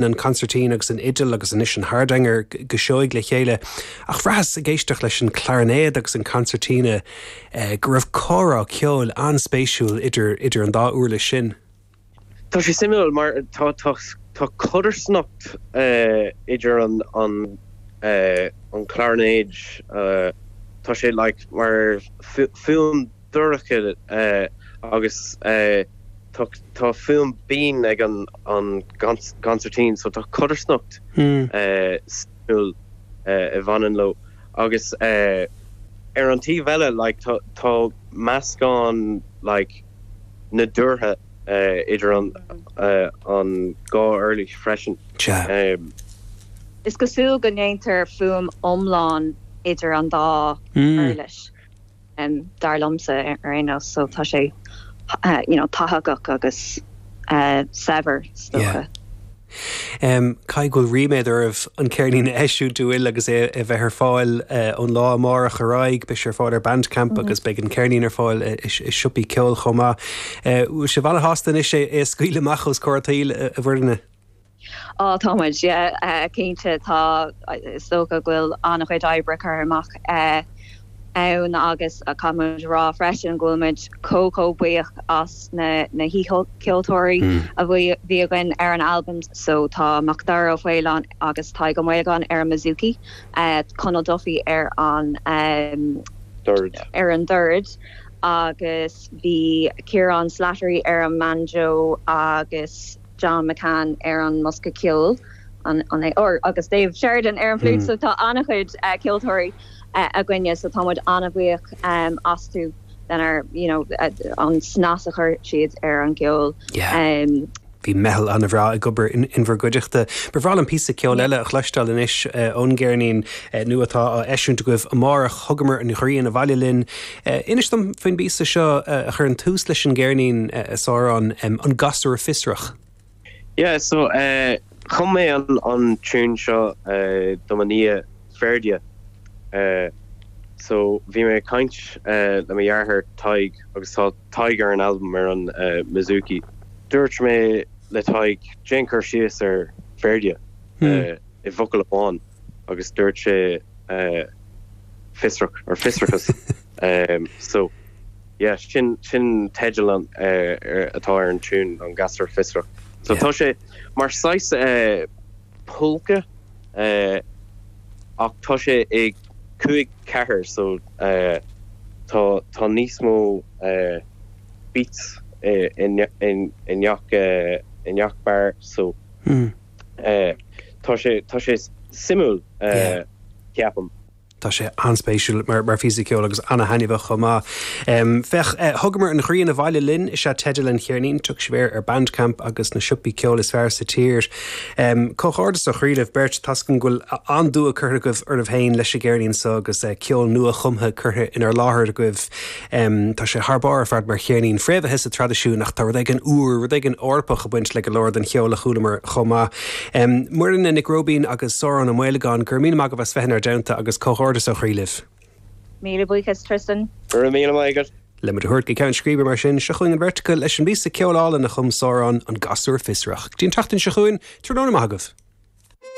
An consairtín agus an fhidil agus anois an hardanger go seoigh le chéile, ach bhraitheas ag éisteacht leis an clarinéad agus an concertina go raibh comhrá ceoil an-spéisiúil idir idir an dá uirlis sin. Tá sé suimiúil mar tá tá tá codarsnacht idir an an an clarinéad, tá sé like mar fuaim dorcha agus tá fuaim binn ag an gconsairtín so tá codarsnacht suimiúil a bhaineann leo agus ar an taobh eile like tá meascán like nádúrtha idir an dhá uirlis freisin. Is cosúil go ndéantar fuaim iomlán idir an dá uirlis. dar liomsa ar aon nós, so tá sé you know tathagach agus saibhir is dócha. Caithfidh go bhfuil ríméad oraibh an ceirnín a eisiúint an bhfuil agus é a bheith ar fáil ón lá amárach ar aghaidh. Beidh sé ar fáil ar Bandcamp agus beidh an ceirnín ar fáil i siopaí ceoil chomh maith. Bhfuil sibh an-shásta anois é a scaoileadh amach os comhair an tsaoil, a Mhuirne? Á, tá muid, yeah, cinnte. Tá, is dócha go bhfuil an-chuid oibre curtha amach ann agus caithfidh muid a rá freisin go bhfuil muid chomh chomh buíoch as na na haoicheoltóirí a bhí againn ar an albam. So tá Macdara Ó Faoláin agus Tadhg Ó Maolagáin ar an mbouzouki, Conall Duffy ar an dord. ar an dord agus bhí Ciarán Slattery ar an mbanjo agus John McCann ar an mbosca ceoil, an é? Or agus Dave Sheridan ar an bhfliúit so tá an-chuid ceoltóirí againne so tá muid an-bhuíoch astu lenár you know an snas a chuir siad ar an gceol. Yeah. Bhí meitheal an-bhreá ag obair in bhur gcuideachta. Ba bhreá liom píosa ceoil eile a chloisteáil anois ón gceirnín nua atá á eisiúint agaibh amárach, Thugamar an Ghrian Abhaile Linn. Inis dom faoin bpíosa seo a chuireann tús leis an gceirnín, a Sháráin, An Gasúr Fiosrach. Yeah, so chum mé an tune seo do mo nia Ferdia. So bhí mé ag caint le mo dheartháir Tadhg agus tá Tadhg ar an albam ar an mbouzouki. Dúirt mé le Tadhg déan cur síos ar Ferdia i bhfocal amháin agus dúirt sé fiosrach or fiosrachas. So yeah sin sin teideal an atá ar an tune an Gasúr Fiosrach. So tá sé mar saghas polca ach tá sé i 5 4 so tá tá níos mó beats i i ngach i ngach bar so Tá sé, tá sé suimiúil, ceapaim. Tá sé an-spéisiúil mar phíosa ceoil agus an-thaitneamhach chomh maith. Féach, Thugamar an Ghrian Abhaile Linn is ea teideal an cheirnín. Tiocfaidh sibh air ar Bandcamp agus na siopaí ceoil is fearr sa tír. Comhghairdeas ó chroí libh beirt. Tá's agam go bhfuil an-dua curtha agaibh oraibh féin leis an gceirnín seo agus ceol nua-chumtha curtha inár láthair agaibh. Tá sé thar barr ar fad mar cheirnín, fréamhaithe sa traidisiún ach tá rud éigin úr, rud éigin Eorpach ag baint le go leor den cheol a chualamar chomh maith. Muireann Nic Róibín agus Sárán Ó Maolagáin, go raibh míle maith agaibh as bheith inár dteannta agus comhghairdeas ó chroí libh. Míle buíochas, Tristan. Go raibh míle maith agat. Le muid a thabhairt go ceann scríbe mar sin, seo chugainn an bheirt acu leis an bpíosa ceoil álainn a chum Sárán, An Gasúr Fiosrach. Go dtí an tseachtain seo chugainn, tráthnóna maith agaibh.